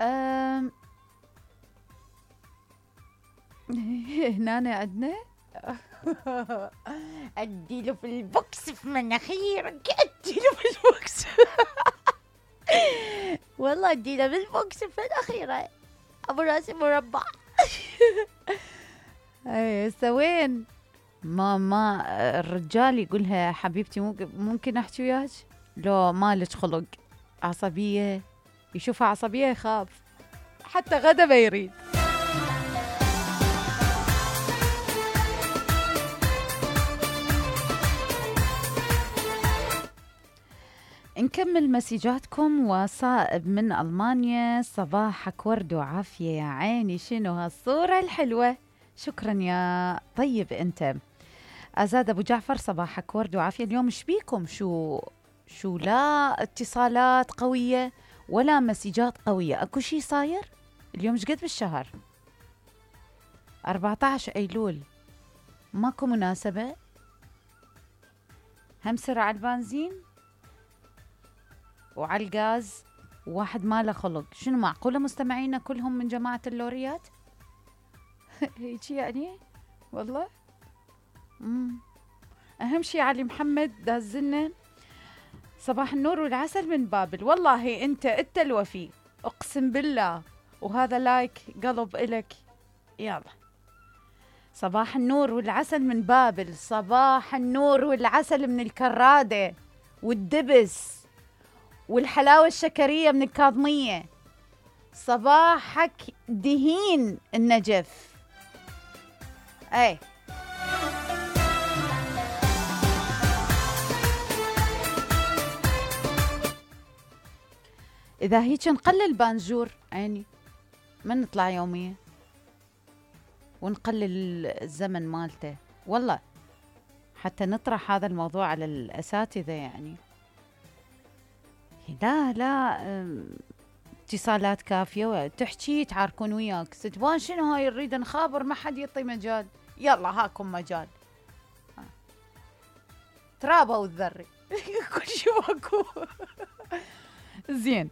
أم... هنا عندنا اديله في البوكس في مناخيرك، اديله في البوكس. والله اديله في البوكس في مناخيره، ابو راس مربع. اي سوين ما الرجال يقولها حبيبتي ممكن احكي وياك؟ لو مالك خلق، عصبيه، يشوفها عصبيه يخاف، حتى غدا ما يريد. نكمل مسيجاتكم. وصائب من ألمانيا، صباحك ورد وعافية يا عيني، شنو هالصورة الحلوة، شكرا يا طيب انت. أزاد أبو جعفر، صباحك ورد وعافية. اليوم شبيكم؟ شو لا اتصالات قوية ولا مسيجات قوية، اكو شي صاير اليوم؟ شقد بالشهر؟ 14 أيلول، ماكو مناسبة؟ هم سرعة على البنزين وعلى الغاز، واحد ما له خلق. شنو معقولة مستمعينا كلهم من جماعة اللوريات؟ هيجي يعني والله. أهم شي علي محمد دازلنا صباح النور والعسل من بابل. والله أنت الوفي، أقسم بالله، وهذا لايك قلب إلك. يلا، صباح النور والعسل من بابل، صباح النور والعسل من الكرادة والدبس والحلاوة الشكرية من الكاظمية، صباحك دهين النجف. اي اذا هيك نقلل بانجور عيني، ما نطلع يوميا ونقلل الزمن مالته، والله حتى نطرح هذا الموضوع على الأساتذة يعني. لا اتصالات كافية، تحكي تعاركون وياك، ستبان شنو هاي، نريد نخابر، ما حد يعطي مجال. يلا هاكم مجال، ترابه والذري. كل شيء ماكو. زين.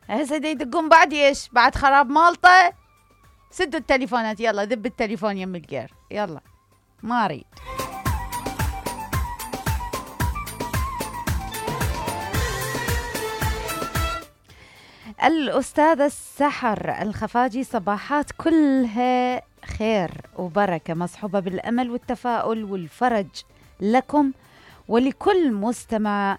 هسه يدقون بعد ايش؟ بعد خراب مالطه. سدوا التليفونات، يلا ذب التليفون يم الجير، يلا ما اريد. الأستاذة السحر الخفاجي، صباحات كلها خير وبركة، مصحوبة بالأمل والتفاؤل والفرج لكم ولكل مستمع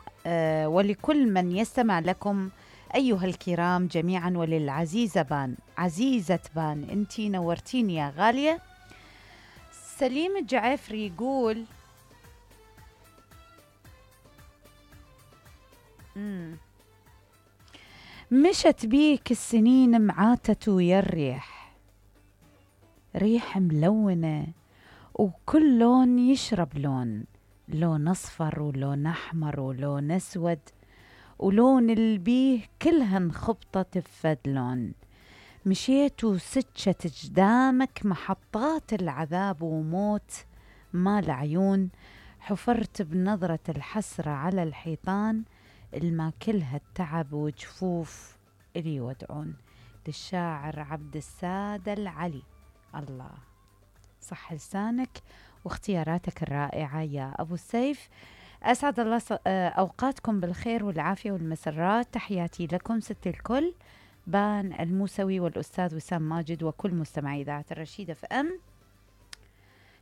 ولكل من يستمع لكم أيها الكرام جميعا، وللعزيزة بان، عزيزة بان، انتي نورتيني يا غالية. سليم الجعفري يقول مشت بيك السنين معاتة ويا الريح، ريح ملونة وكل لون يشرب لون، لون أصفر ولون أحمر ولون أسود، ولون البيه كلهن خبطة تفد لون. مشيت وسجت جدامك محطات العذاب وموت مال عيون، حفرت بنظرة الحسرة على الحيطان، الما كلها التعب وجفوف إلي يودعون. للشاعر عبد السادة العلي. الله، صح لسانك واختياراتك الرائعة يا أبو السيف. أسعد الله أوقاتكم بالخير والعافية والمسرات. تحياتي لكم ست الكل، بان الموسوي والأستاذ وسام ماجد وكل مستمعي إذاعة الرشيدة FM.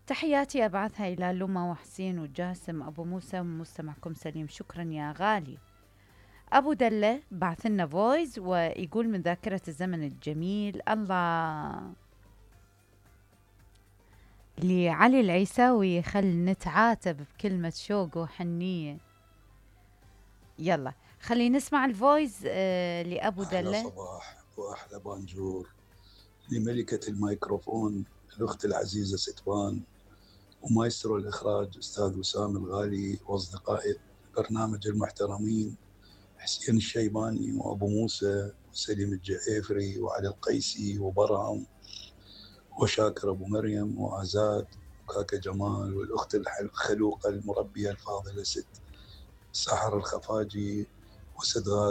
تحياتي أبعثها إلى لما وحسين وجاسم أبو موسى ومستمعكم سليم. شكرا يا غالي. أبو دلة بعث لنا فويس ويقول من ذاكرة الزمن الجميل. الله، لعلي العيساوي، خل نتعاتب بكلمة شوق وحنية. يلا خلي نسمع الفويس لأبو دلة. أحلى صباح وأحلى بانجور لملكة الميكروفون الأخت العزيزة ستبان، ومايسترو الإخراج أستاذ وسام الغالي، وأصدقائي البرنامج المحترمين حسين الشيباني وأبو موسى وسليم الجعيفري وعلي القيسي وبرهم وشاكر أبو مريم وآزاد وكاكا جمال، والأخت الخلوقة المربية الفاضلة ست سحر الخفاجي وست غادة